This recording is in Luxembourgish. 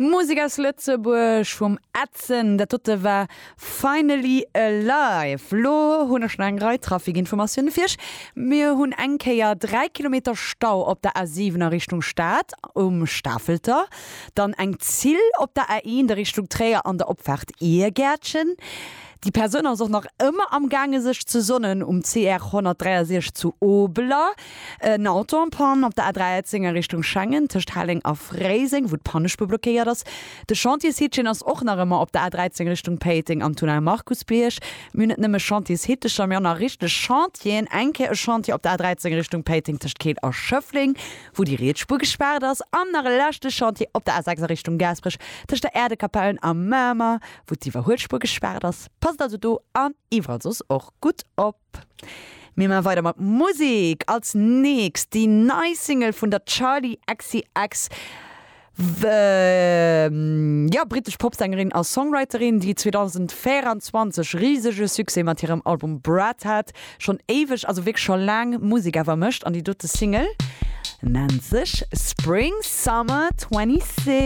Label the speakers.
Speaker 1: Musek aus Lëtzebuerg vum Edson, dat dote war Finally Alive. Lo hunn ech nach eng Rei Trafikinformatioune fir iech. Mir hunn eng Kéier 3 Kilometer Stau op der A7 a Richtung Stad um Stafelter, dann eng Zill op der A1 a Richtung Tréier an der Opfaart Iergäertchen. Déi Persoun ass och nach ëmmer am gaange sech ze sonnen um CR 163 zu Obeler. En Auto en panne op der A13 a Richtung Schengen tëscht Helleng a Fréiseng, wou d'Pannespuer blockéiert ass. De Chantiershitchen ass och nach ëmmer op der A13 Richtung Péiteng am Tunnel Markusbierg. Mir hunn net nëmme Chantiershittecher, mee och nach richteg Chantieren. Eng Kéier e Chantier op der A13 Richtung Péiteng tëscht Keel a Schëffleng, wou déi riets Spuer gespaart ass. An nach e leschte Chantier op der A6 a Richtung Gaasperech tëscht der Äerdekapellen a Mamer, wou d'Iwwerhuelspuer gespaart ass. Passt also do an iwwerall soss och gutt op. Mir man weider mat Musek. Als nächst déi nei Single vun der Charli XCX, jo brittesch Popsängerin a Songwriterin, déi 2024 risege Succès mat hirem Album Brat hat. Schonn éiweg, also wierklech scho laang Musek awer mécht an déi dote Single nennt sech Spring Summer 26.